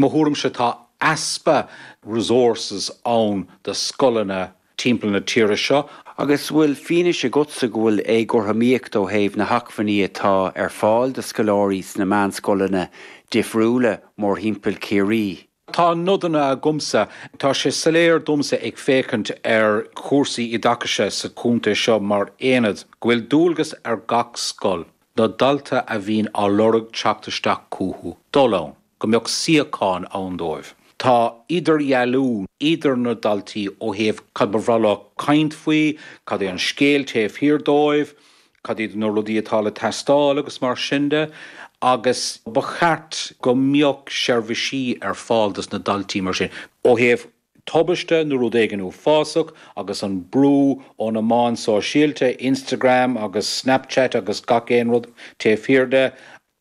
Mo thuairimse tá easpa resources ann do scoileanna timpeall na tíre seo. Agus bhfuil fianaise agatsa go bhfuil éagothromaíocht ó thaobh na hacmhainní atá ar fáil do scoláirí sna meánscoileanna difriúla mórthimpeall Chiarraí? Tá nodanna agamsa. Tá sé soiléir domsa ag féachaint ar chúrsaí oideachais sa chontae seo mar aonad go bhfuil dualgas ar gach scoil na dalta a bhíonn á lorg teacht isteach chucu dul ann, go mbeadh suíochán ann dóibh. Tá idirdhealú idir na daltaí ó thaobh cad ba bhreá leo caint faoi, cad é an scéal taobh thiar dóibh, cad iad na rudaí atá le teastáil agus mar sin de agus ba cheart go mbeadh seirbhísí ar fáil dos na daltaí mar sin ó thaobh tubaiste nó rud éigin uafásach agus an brú ó na meáin sóisialta, Instagram agus Snapchat agus gach aon rud taobh thiar de.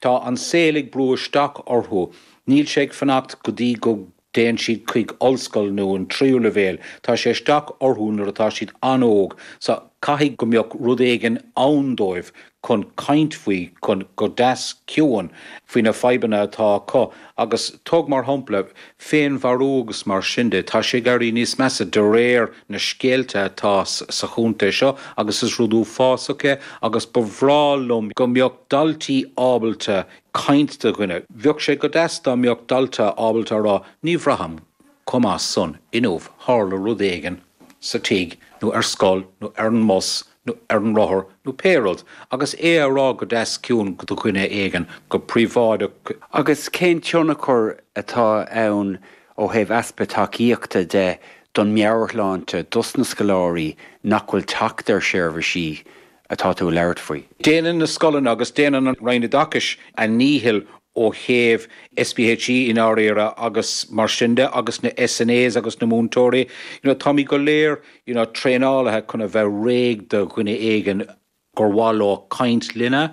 Tá an saol ag brú isteach orthu. Níl sé ag fanacht go dtí go dtéann siad chuig ollscoil nó an tríú leibhéal. Tá sé isteach orthu nuair atá siad an-óg. So, caithfidh go mbeadh rud éigin ann dóibh chun caint faoi, chun, go deas ciúin, faoi na fadhbanna atá acu. Agus tóg mar shampla, féinmharú agus mar sin de, tá sé ag éirí níos measa de réir na scéalta atá sa chontae seo agus is rud uafásach é agus ba bhreá liom go mbeadh daltaí ábalta caint do dhuine. Bheadh sé go deas dá mbeadh dalta ábalta a rá ní bhraithim chomh maith san inniu, tharla rud éigin sa tigh nó ar scoil nó ar an mbus nó ar an rothar nó pé rud, agus é a rá go deas ciúin do dhuine éigin, go príobháideach. Agus cén tionchar atá ann ó thaobh easpa tacaíochta de don meabhairshláinte dos na scoláirí nach bhfuil teacht ar sheirbhísí atá tú ag labhairt faoi? Déanann na scoileanna agus déanann an Roinn Oideachais a ndícheall ó thaobh SPHE i ndáiríre agus mar sin de agus na SNAs agus na múinteoirí, you know táimid go léir you know traenáilte chun a bheith réidh do dhuine éigin gur mhaith leo caint linne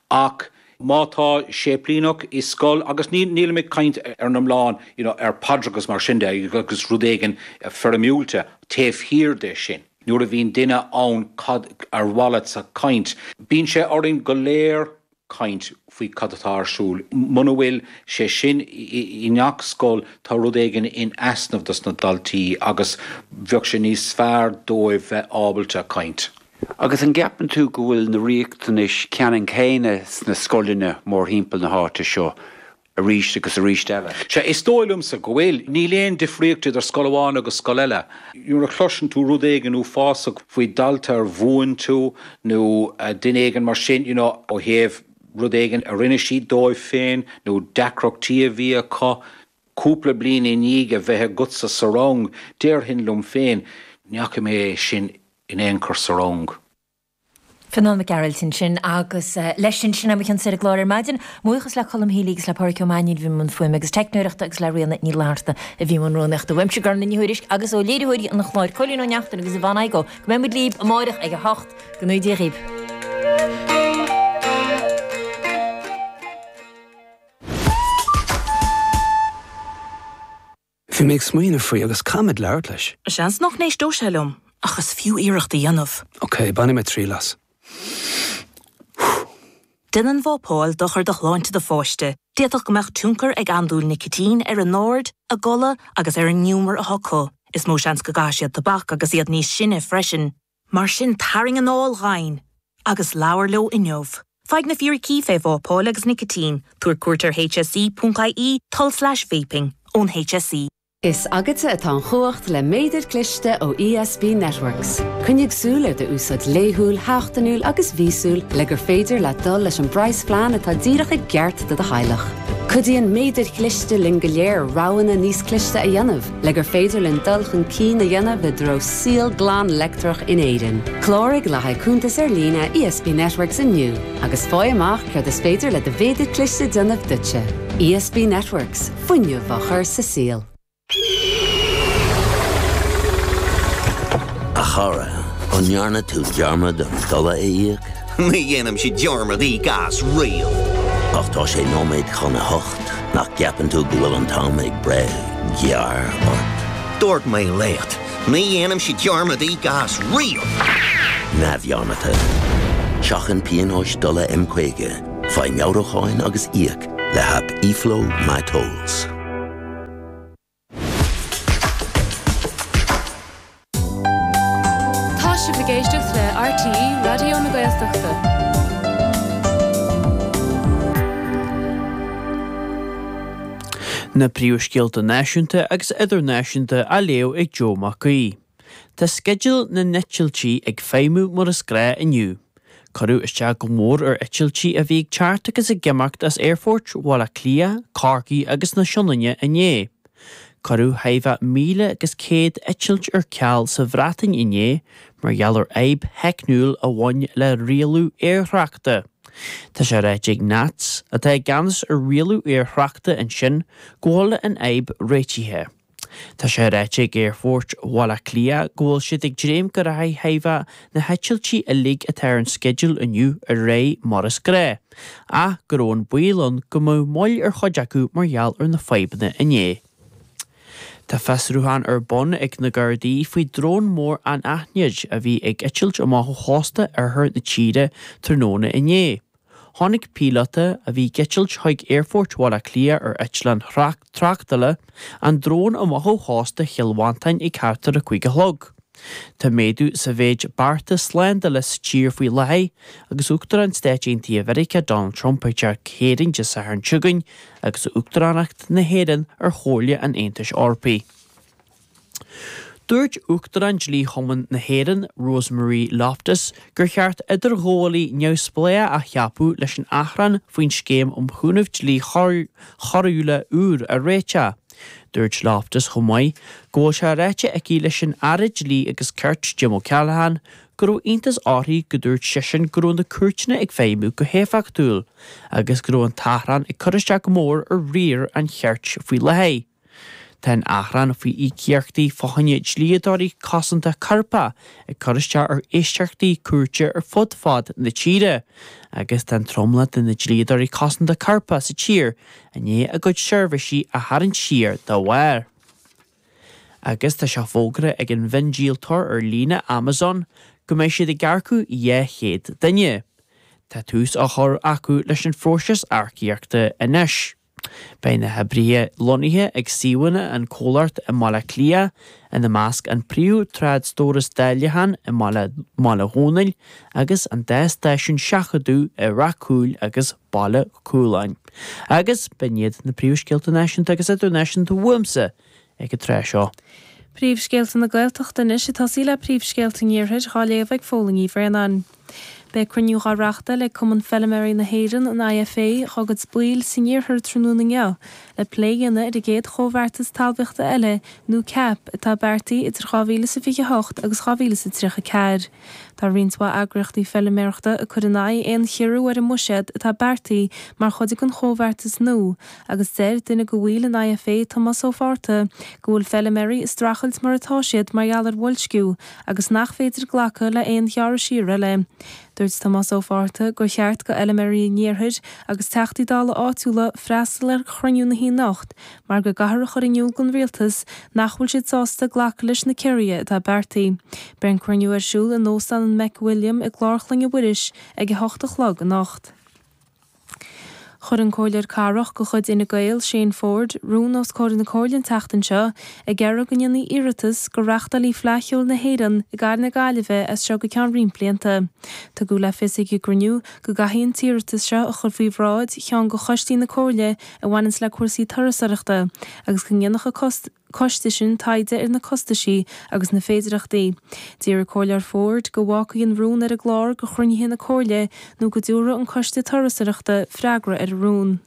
ach má tá séiplíneach i scoil agus ní nílim ag caint ar an iomlán you know ar Padraig agus mar sin de agus rud éigin foirmiúlta taobh thiar de sin. Nuair a bhíonn duine ann cad ar mhaith leatsa caint bíonn sé orainn go léir caint faoi cad atá ar siúl. Muna bhfuil sé sin i ngach scoil tá rud éigin in easnamh dos na daltaí agus bheadh sé níos fearr dóibh bheith ábalta caint. Agus an gceapann tú go bhfuil na riachtanais ceannann céanna sna scoileanna mórthimpeall na háite seo? arís agus arís eile. Sea, is dóigh liomsa go bhfuil. Níl aon difríocht idir scoil amháin agus scoil eile. Nuair a chloiseann tú rud éigin uafásach faoi dalta ar mhúin tú nó duine éigin mar sin, you know, ó thaobh rud éigin a rinne siad dóibh féin nó deacrachtaí a bhí acu cúpla bliain i ndiaidh a bheith agatsa sa rang, déarfainn liom féin, ní fhaca mé é sin in aon chor sa rang. Fionán Mac Gearailt ansin agus leis sin, sin é mo chionn ar an gclár ar maidin. Buíochas le Colm Healy agus le Pádhraic Ó Mainnín a bhí i mbun fuaime agus teicneoireachta agus le Ríona Ní Fhlatharta a bhí i mbun rúnaíochta. Uaimse Gormfhlaith Ní Thuairisg agus ó léiritheoirí an chláir Cóilín Ó Neachtain agus Yvonne Igoe go mbeidh muid libh amáireach ag 8. Go ngnóthaí Dia dhaoibh. Bhí mé ag smaoineamh faoi agus caithfimid labhairt leis. Seans nach n-éisteoidh sé liom, ach is fiú iarracht a dhéanamh. Ok, bainfidh mé triail as. Déanann vápáil dochar do shláinte do pháiste. D'fhéadfadh go mbeadh tionchar ag andúil nicitín ar a n-aird, a gcodladh agus ar an ngiúmar atá acu. Is mó seans go gcaithfidh siad tobac agus iad níos sine freisin. Mar sin, tarraing anáil dhomhain agus labhair leo inniu. Faigh na fíricí fé vápáil agus nicitín, tabhair cuairt ar hse.ie tulslais vaping ón HSE. Is agatsa atá an chumhacht le méadar cliste ó ESB Networks. Coinnigh súil ar d'úsáid laethúil, sheachtainiúil agus mhíosúil le gur féidir leat dul leis an bpraghasphlean atá díreach i gceart do do theaghlach. Cuidíonn méadair chliste linn go léir roghanna níos cliste a dhéanamh. Le gur féidir linn dul chun cinn a dhéanamh i dtreo saol glan leictreach in Éirinn. Cláraigh le haghaidh cuntas ar líne ESB Networks inniu agus faigh amach céard is féidir le do mhéadar cliste déanamh duitse. ESB Networks, fuinneamh á chur sa saol. A chara, an ndearna tú dearmad an dola a íoc? Ní dhéanaimse dearmad íoc as riamh. Ach tá sé nóiméad chun a hocht, nach gceapann tú go bhfuil an t-am ag breith gearr ort? Dúirt mé leat, ní dhéanaimse dearmad íoc as riamh! Neamhdhearmadta. Seachain pionóis dola M50, faigh meabhrúcháin agus íoc le haip eFlow MyTolls. ag éisteacht le RTÉ Raidió na Gaeltachta. Na príomhscéalta náisiúnta agus idirnáisiúnta á léamh ag Joe Mac Aoidh. Tá sceideal na n-eitiltí ag feidhmiú mar is gnáth inniu. Cuireadh isteach go mór ar eitiltí a bhí ag teacht agus ag imeacht as aerfoirt Bhaile Átha Cliath, Corcaigh agus na Sionainne inné. Cuireadh thimpeall 1,100 eitilt ar ceal sa Bhreatain inné mar gheall ar fhadhb theicniúil a bhain le rialú aerthráchta. Tá sé ráite ag NATS, atá i gceannas ar rialú aerthráchta ansin, go bhfuil an fhadhb réitithe. Tá sé ráite ag Aerfort Bhaile Átha Cliath go bhfuil siad ag dréim go rachaidh thimpeall na heitiltí uilig atá ar an sceideal inniu ar aghaidh mar is gnáth, ach go raibh an baol ann go mbeadh moill ar chuid acu mar gheall ar na fadhbanna inné. Tá fiosrúchán ar bun ag na Gardaí faoi drón mór anaithnid a bhí ag eitilt amach ó chósta oirthear na tíre tráthnóna inné. Chonaic píolóta, a bhí ag eitilt chuig Aerfort Bhaile Átha Cliath ar eitleán tráchtála, an drón amach ó chósta Chill Mhantáin ag thart ar a 5 a chlog. Tá méadú sa mhéid bearta slándála sa tír faoi láthair agus Uachtarán Stáit Aontaithe Mheiriceá Donald Trump ag teacht go hÉirinn Dé Sathairn seo chugainn agus Uachtaránacht na hÉireann ar Chomhairle an Aontais Eorpaigh. Dúirt Uachtarán Dlí-Chumann na hÉireann, Rosemarie Loftus, gur cheart idirghabhálaí neamhspleách a cheapadh leis an achrann faoin scéim um chúnamh dlí choiriúla úr a réiteach. Dúirt Loftus chomh maith go bhfuil sé ráite aici leis an Aire Dlí agus Cirt, Jim O'Callaghan, go raibh iontas uirthi go dúirt seisean go raibh na cúirteanna ag feidhmiú go héifeachtúil agus go raibh an t-achrann ag cur isteach go mór ar riar an chirt faoi láthair. Tá an achrann faoi íocaíochtaí fá choinne dlíodóirí cosanta coirpeach ag cur isteach ar éisteachtaí cúirte ar fud fad na tíre agus tá an tromlach de na dlíodóirí cosanta coirpeach sa tír i ndiaidh a gcuid seirbhísí a tharraingt siar dá bharr. Agus tá sé fógartha ag an mhiondíoltóir ar líne Amazon go mbeidh siad ag earcú 200 duine. Tá tús á chur acu leis an phróiseas earcaíochta anois. Beidh na hoibrithe lonnaithe ag suíomhanna an chomhlacht i mBaile Átha Cliath, ina measc an príomh-trádstóras dáileacháin i mBaile Dhónaill agus an dá stáisiún seachadadh i Rath Cúil agus Baile Cualáin. Agus b'in iad na príomhscéalta náisiúnta agus idirnáisiúnta uaimse ag an tráth seo. Príomhscéalta na Gaeltachta anois ag tosaí le príomhscéalta an Iarthair dhá léamh ag Fódhla Ní Bhraonáin. Beidh cruinniú dhá reachtáil ag Cumann Feiliméaraí na hÉireann, an IFA, dhá gcuid baill san iarthar tráthnóna inniu le plé a dhéanamh ar an gcéad chomhbheartas talmhaíochta eile nó CAP atá beartaithe idir 2028 agus 2034. Tá roinnt mhaith eagraíochtaí feiliméarachta ag cur in aghaidh aon chiorrú ar an mbuiséad atá beartaithe mar chuid den chomhbheartas nua agus deir duine de bhaill an IFA, Tomás Ó Fátharta, go bhfuil feiliméaraí ag streachailt mar atá siad mar gheall ar bhoilsciú agus nach féidir glacadh le haon ghearradh siar eile. Dúirt Tomás Ó Fátharta gur cheart go fheiliméaraí an iarthair agus Teachtaí Dála áitiúla freastal ar chruinniú na hoíche anocht mar go gcaithfear a chur in iúl don Rialtas nach bhfuil siad sásta glacadh leis na ciorruithe atá beartaithe. Beidh an cruinniú ar siúl in Óstán an McWilliam i gClár Chlainne Mhuiris ag 8 a chlog anocht. Chuir an Comhairleoir Cathrach de chuid Fhine Gael, Shane Forde, rún os comhair na Comhairle an tseachtain seo ag iarraidh go ndéanfaí iarratas go reáchtálfaí Fleadh Cheoil na hÉireann i gcathair na Gaillimhe as seo go ceann roinnt blianta. Tugadh le fios ag an gcruinniú go gcaithfí an t-iarratas seo a chur faoi bhráid cheann de choistí na Comhairle a bhaineanns le cúrsaí turasóireachta agus go ndéanfadh an coiste sin taighde ar na costaisí agus na féidireachtaí. D'iarr an Comhairleoir Forde go bhfágfaí an rún ar an gclár go chruinnithe na Comhairle nó go dtabharfadh an Coiste Turasóireachta freagra ar an rún.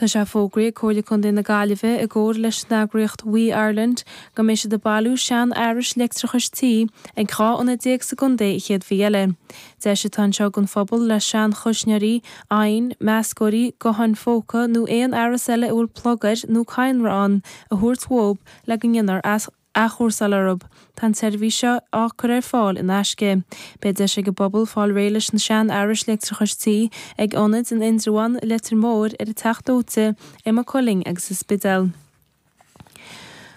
Tá sé fógraithe ag Comhairle Contae na Gaillimhe i gcomhar leis an eagraíocht WEEE Ireland go mbeidh siad ag bailiú sean-fhearais leictreachais tí ag 12 ionad sa gcontae an chéad mhí eile. Deis atá anseo don phobal le sean-chuisneoirí, oighinn, meascóirí, gutháin phóca nó aon fhearas eile a bhfuil plug air nó cadhnra ann a thabhairt uathub le go ndéanfar athchúrsáil orthub. Tá an tseirbhís seo á cur ar fáil in aisce. Beidh deis ag an bpobal fáil réidh leis na sean-fhearais leictreachais tí ag ionaid in Indreabhán, Leitir Móir, ar an Teach Dóite, i Maigh Cuilinn agus sa Spidéal.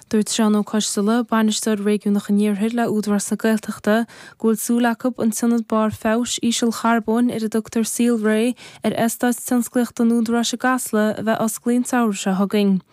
Dúirt Seán Ó Coisteala, Bainisteoir Réigiúnach an Iarthair le Údarás na Gaeltachta, go bhfuil súil acu an t-ionad barr feabhais ísealcharbóin ar a dtugtar Saolré ar eastát tionsclaíochta an Údaráis i gCasla a bheith osclaithe an samhradh seo chugainn.